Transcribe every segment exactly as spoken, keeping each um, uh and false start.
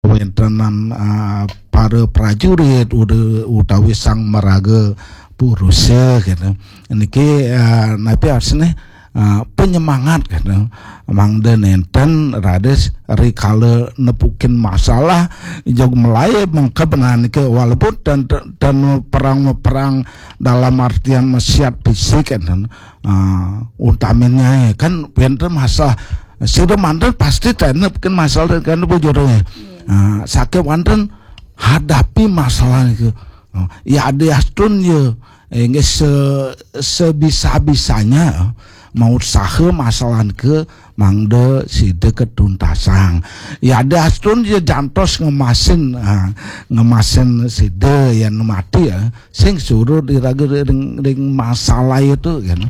wéntenan, eh, para prajurit uda-, utawi sang maraga purusa gitu. Niki, eh, napi artine, eh, penyemangat gitu. Mangda nénten raris rikala nepukin masalah, jog melai mengkeb niki walaupun ten, ten perang, perang dalam artian mesiat fisik gitu. Ah, utaminnya kan wénten masalah. Sira manten pasti tenep kan masalah kan bujurnya. Ah, sakit wonten hadapi masalah itu. Oh, ya ada astun ya. Inggih se sebisa-bisanya, eh, mau usaha masalah ke mangda sida ketuntasang. Ya ada astun ya jantos ngemasin, ah, ngemasin sida yang mati ya. Sing surut iraga ring, ring masalah itu kan.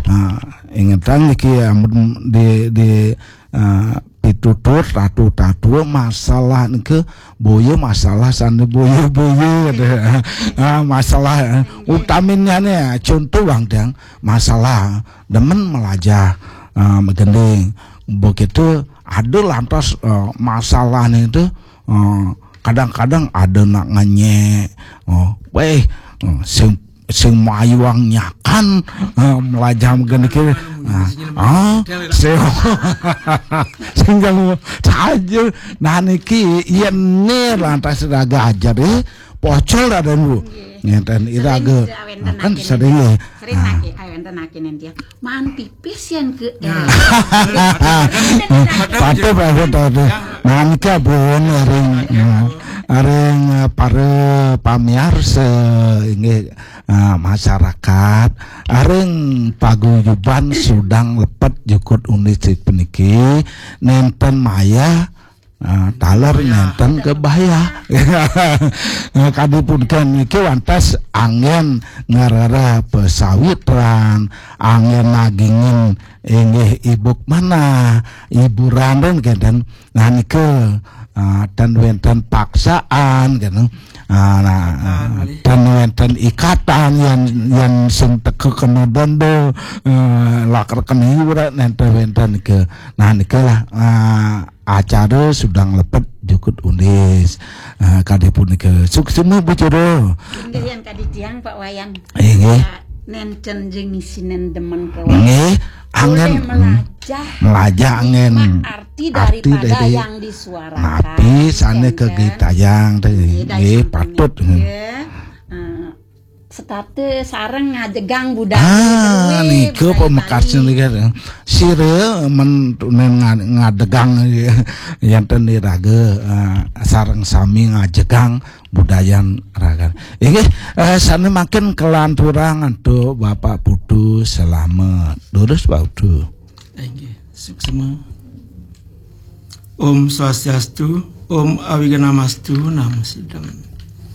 Ah, ingetang niki amun di, di, ah, pitutur tatu-tatu masalah niki boya masalah sana boya-boya gitu. Ah, masalah, eh, utaminnya nih contoh bang tiang masalah demen melajah, ah, megending begitu ada lantas, eh, masalah nih itu, eh, kadang-kadang ada nak ngenyek, oh, weh, eh, sing sing mayuang nyakan, eh, melajah megending kiri. Nah, ah, sing sing kalau saja nah niki yen ne lantas raga ajar eh pocol ada lu ngeten iraga kan sering ya. Sering lagi ayo enten lagi nanti ya. Man pipis yang ke eh. Patuh patuh patuh. Nah niki abon ring, eh, ring, eh, para pamiarsa inggih, eh, masyarakat ring paguyuban sudang lepet jukut undi puniki nenten maya, eh, taler nenten kebaya. Eh, kadi punika niki wantas anggen ngerereh pesawitran, anggen nagingin inggih ibuk manah, hiburan dan kenten. Nah nika, eh, ten wenten paksaan gitu. Ah, nah, eh, ten wenten ikatan yang yang sing teka kena dondo, eh, lakar kena hiburan nenten wenten ke. Nah nika lah, eh, acara sudang lepet jukut undis. Eh, kadi punika suksma Bu Jero. Inggih yang kadi tiang Pak Wayan. Inggih. Ya, nenten jeng isinen demen ke Wayan. Nggih, anggen, hmm, melajah. Melajah anggen. Arti daripada yang disuarakan. Napi sane kegitayang teh nggih patut. Nggih. Eh, setate sareng ngajegang budaya. Ah, nika pamekasnya nika. Sira men tunen nga- ngadegang yen ten iraga, eh, sareng sami ngajegang budayan ragan. Inggih, eh, sane makin kelanturang antuk Bapak Putu selamat. Durus Pak Putu. Inggih, suksma. Om Swastiastu, Om Awignamastu, Namo Siddham.